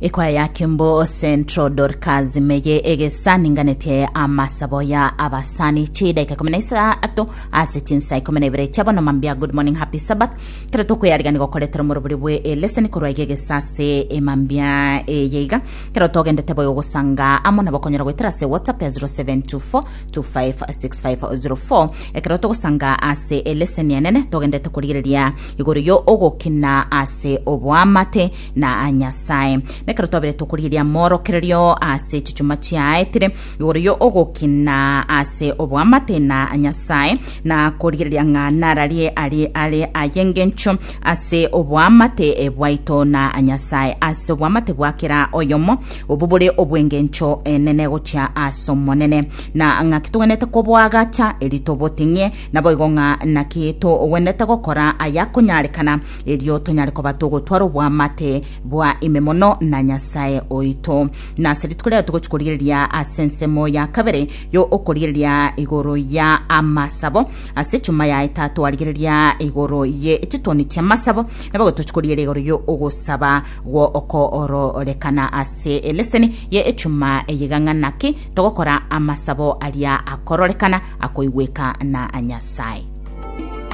Ekwaya ya Kimbo Central Dorcas meye egesa ninganetie amasabo ya abasani chidaika 13 ase chinsa 12 chia bono mambia. Good morning, happy Sabbath. Kero tokweyarigani gokoretera omorobori bwe eleseni korwa iga egesa ase emambia eye iga kero togendete boigo gosanga amo nabo konyora goetera ase WhatsApp ya 0724 256504 ekero togosanga ase eleseni enene togendete korigereria igoro yo ogokina ase oboamate na Nyasae. Nekero twabere tokorigereria amorokererio ase chichuma chiaetire igoro yo ogokina ase oboamate na Nyasae na korigereria ng'a nararie arie are ay'engencho ase oboamate bwaito na Nyasae ase oboamate bwa kera oyomo obo bore obw'engencho enene gochia ase Omonene na ng'aki togwenerete koboagacha eri toboting'ie naboigo ng'a naki togwenerete gokora ayakonyarekana erio tonyare koba togotwara oboamate bwa ime mono na Nyasae oito. Na ase rituko riaye togochi korigereria ase ensemo ya kabere yo okorigereria igoro ya amasabo. Ase echuma yaye tatwarigereria igoro ye chitoni chi'amasabo, naboigo tochi korigereria igoro yo ogosaba gwo okoororekana ase eleseni ye echuma eye iga ng'a naki togokora amasabo aria akororekana akoigweka na Nyasae.